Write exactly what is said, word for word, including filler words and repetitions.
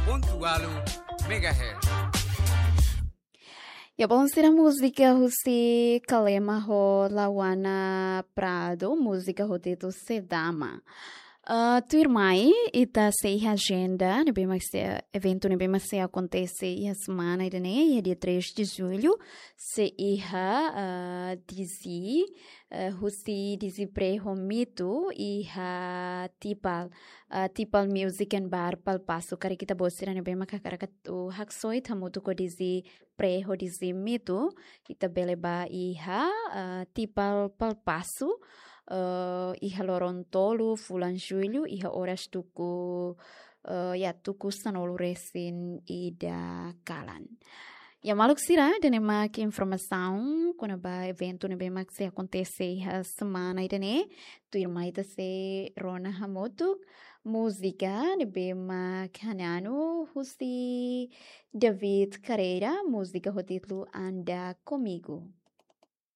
pontu ualu megahertz. Ya, balun sira, múzika husi Kalema ho Lawana Prado, múzika ho títulu Sedama. Ah, tuirmai, ita sei iha ajenda ne'ebé mak sei, eventu ne'ebé mak sei akontese iha semana ida-ne'e, iha dia três de julho, sei iha, ah, Dizzy, eh, husi Dizzy Pré ho Mitu, iha Tipal, ah, Tipal Music and Bar Palpaso. Karik ita-boot sira ne'ebé mak hakarak atu haksoit hamutuk ho Dizzy Pré ho Dizzy Mitu, ita bele bá iha, ah, Tipal Palpaso, eh, iha loron tolu fulan Jullu, iha oras tuku, eh, ya, tuku sanulu resin ida kalan. Ya, maluk sira, ida-ne'e mak informasaun kona-ba eventu ne'ebé mak sei akontese iha semana ida-ne'e. Tuirmai ita sei rona hamutuk múzika ne'ebé mak hananu husi David Carreira, múzika ho títulu Anda Comigo.